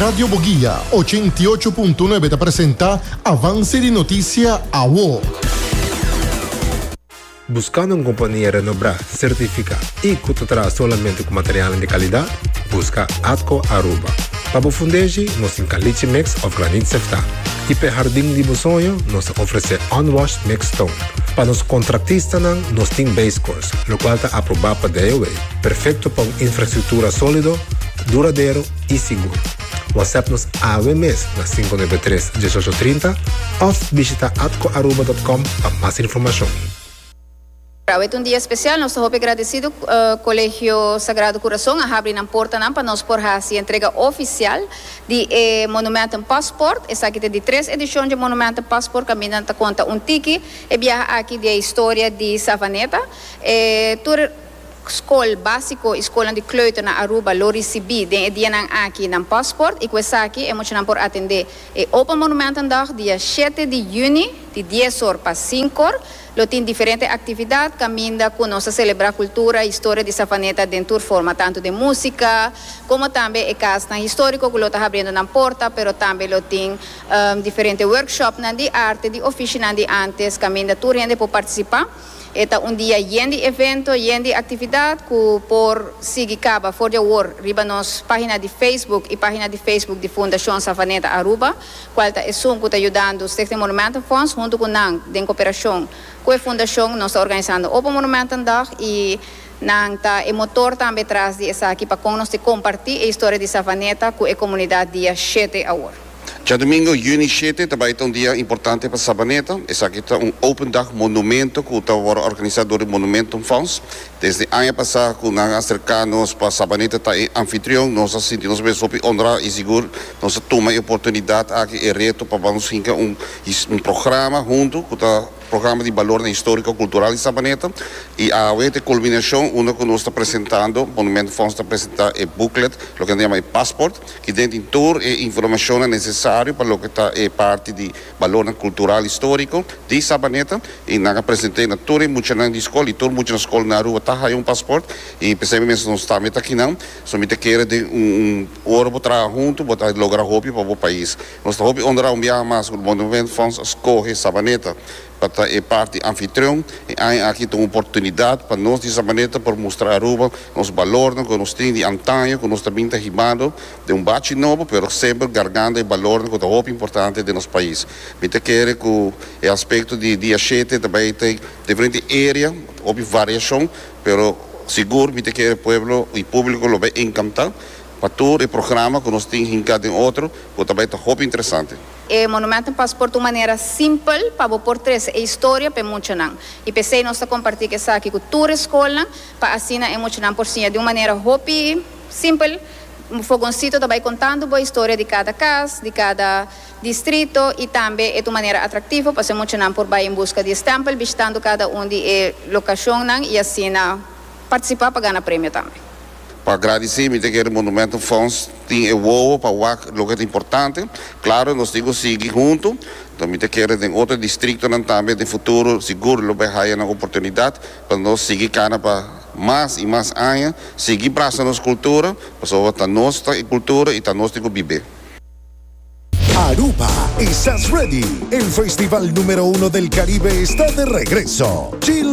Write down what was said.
Radio Boguia 88.9 ta presenta Avance di Noticia Awo. Buscando un compania renombra, certifica y cu ta traha solamente cu materialnan di calidad? Busca Atco Aruba. Pa bo fundeshi, nos tin caliche mix of granit seftá. Y p'e hardin di bo soño, nos ta ofrece unwashed mixed stone. Pa nos contractistanan, nos tin base course, locual ta aproba pa DOW, perfecto pa un infrastructura solido, duradero y sigur. WhatsApp nos awe mes na 593 1830 of bishita atcoaruba.com pa mas informacion. Awe ta un dia especial, nos ta hopi agradecido cu Colegio Sagrado Corazon a habri nan portanan pa nos por haci entrega oficial di e Monumenten Paspoort. Esaki ta di tres edicion dje Monumenten Paspoort caminda nan ta conta un tiki e biaha aki di e historia di Savaneta. E tur. Skol básiko i skolnan di kleuter na Aruba lo risibí den e dianan aki nan pasport i ku esaki e muchanan por atendé e Open Monumentendag dia shete di yüni di dies or pa sinkor. Lo tin diferente aktividat kaminda ku nos ta selebrá kultura i historia di Savaneta den tur forma, tantu den músika komo tambe e kasnan históriko ku lo ta habriendo nan porta, pero tambe lo tin diferente workshopnan di arte, di ofishinan di ántes kaminda tur hende por partisipá. E ta un dia yen di evento, yen di actividad cu por sigui caba for di awor riba nos pagina di Facebook y pagina di Facebook di Fundacion Savaneta Aruba, cual ta esun cu ta yudando Stichting Monumentenfonds hunto cu nan den cooperacion cu e fundacion nos ta organisando Open Monumentendag y nan ta e motor tambe tras di esaki pa con nos te comparti e historia di Savaneta cu e comunidad dia shete awor. Djadumingo, yüni shete, ta bai ta un dia importante pa Sabaneta. Esaki ta un Open Dag Monumento ku ta wòrdu organisá dor di Monumentenfonds. Desde aña pasá ku nan a aserká nos pa Sabaneta ta e anfitrion, nos a sinti nos mes hopi honrá i sigur nos a tuma e oportunidat aki, e reto pa nos hinka un programa huntu ku ta programa di balornan históriko kultural di Sabaneta. I awe ta e kulminashon unda ku nos ta presentando, Monumentenfonds ta presentá e booklet, loke nan ta yama e passport. Ki den tin tur e informashonnan nesesario pa loke ta e parti di balornan kultural históriko di Sabaneta i nan a present'é na tur e muchanan di skol i tur mucha na skol na Aruba ta haya un pasport i p'esei mes nos tambe ta akinan. So mi ta kere den un ora bo traha huntu bo ta logra hopi pa bo pais. Nos ta hopi honra un biaha mas ku Monumentfonds a skohe Sabaneta pa ta e parti anfitrion. E aña aki ta un oportunidat pa nos di Sabaneta por mustra Aruba nos balornan ku nos tin di antaño ku nos ta bin ta hibando den un bachi nobo pero semper gargando e balornan ku ta hopi importante den nos pais. Mi ta kere ku e aspekto di dia shete ta bai ta diferente area, hopi variashon, pero sigur mi ta kere pueblo i publiko lo bai enkanta pa tur e programa ku nos tin hinka den otro ku ta bai ta hopi interesante. E Monumentenpaspoort ta un manera simpel pa bo por trese e historia pa e muchanan. I p'esei nos ta kompartí ku esaki ku tur e skolnan pa asina e muchanan por siña di un manera hopi simpel. Un fogonsito ta bai kontando bo e historia di kada kas, di kada distrito i tambe e ta un manera atraktivo pa e muchanan por bai en buska di e stèmpel bishitando kada un di e lokashonnan i asina partisipá pa gana premio tambe. Pa gradisí mi ta kere Monumentenfonds tin e wowo pa wak loke ta importante. Klaro nos tin ku sigui huntu, enton mi ta kere den otro distriktonan tambe den futuro sigur lo bai haya nan oportunidat pa nos sigui kana pa mas i mas aña, sigui brasa nos kultura, pasobra ta nos ta e kultura i ta nos tin ku bib'é. Aruba, estás ready? El festival número uno del Caribe está de regreso. Chill.